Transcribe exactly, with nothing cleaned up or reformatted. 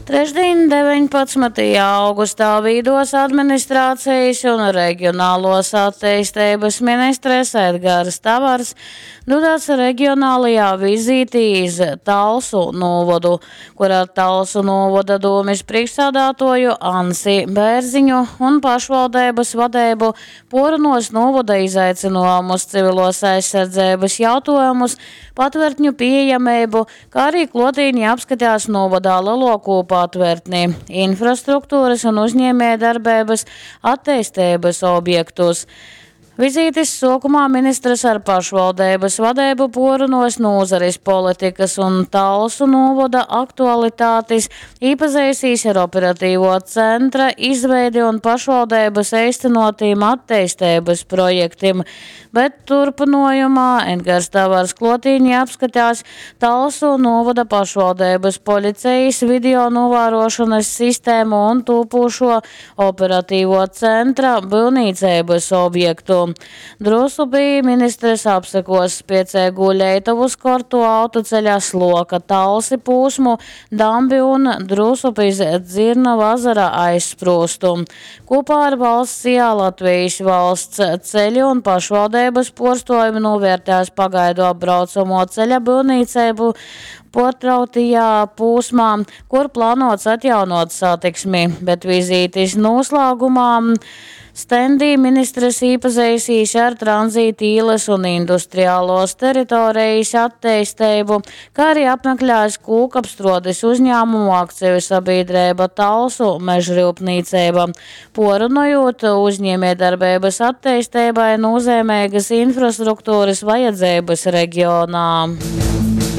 Trešdīn, deveņpadsmytajā augustā, vīduos administrācijas un regionāluos atteisteibys ministres Edgars Tavars dūdās regionālajā vizītī iz Talsu nūvodu, kur ar Talsu nūvoda dūmis prīšksādātuoju Ansi Bērziņu un pašvaldeibys vadeibu puorrunuos nūvoda izaicynuojumus, civiluos aizsardzeibys jautuojumus, patvertņu pīejameibu, kā arī kluotīnī apskatās nūvodā leluokū patvertni, infrastrukturys un uzņiemiejdarbeibys atteisteibys objektus. Vizītis suokumā ministrs ar pašvaldeibys vadeibu puorrunuos nūzaris politikys un Talsu nūvoda aktualitātis, īpazeisīs ar operatīvuo centra izveidi un pašvaldeibys eistynuotīm atteisteibys projektim, bet turpynuojumā Edgars Tavars kluotīnī apskatās Talsu nūvoda pašvaldeibys policejis video nūvāruošonys sistēmu un tūpūšo operatīvuo centra byuvnīceibys objektu. Drusupī ministrs apsekuos spieceigū Leitovu skortuo autoceļa Sloka – Talsi pūsmu, dambi un Drusupis Dzirnavu azara aizsprūstu. Kūpā ar valsts I A Latvijas valsts ceļi un pašvaldeibys puorstuovim nūvērtēs pagaidu apbraucamuo ceļa byuvnīceibu puortrauktajā pūsmā, kur plānots atjaunuot satiksmi, bet vizītis noslāgumā stendī ministrs īpazeisīs ar tranzīta īlas un industriālos teritorijas atteisteibu, kā arī apmeklēs kūkapstruodes uzņēmumu akciju sabiedrība Talsu mežrūpnīcība, porunojot uzņēmējdarbeibas atteistībai nozīmīgas infrastruktūras vajadzības reģionā.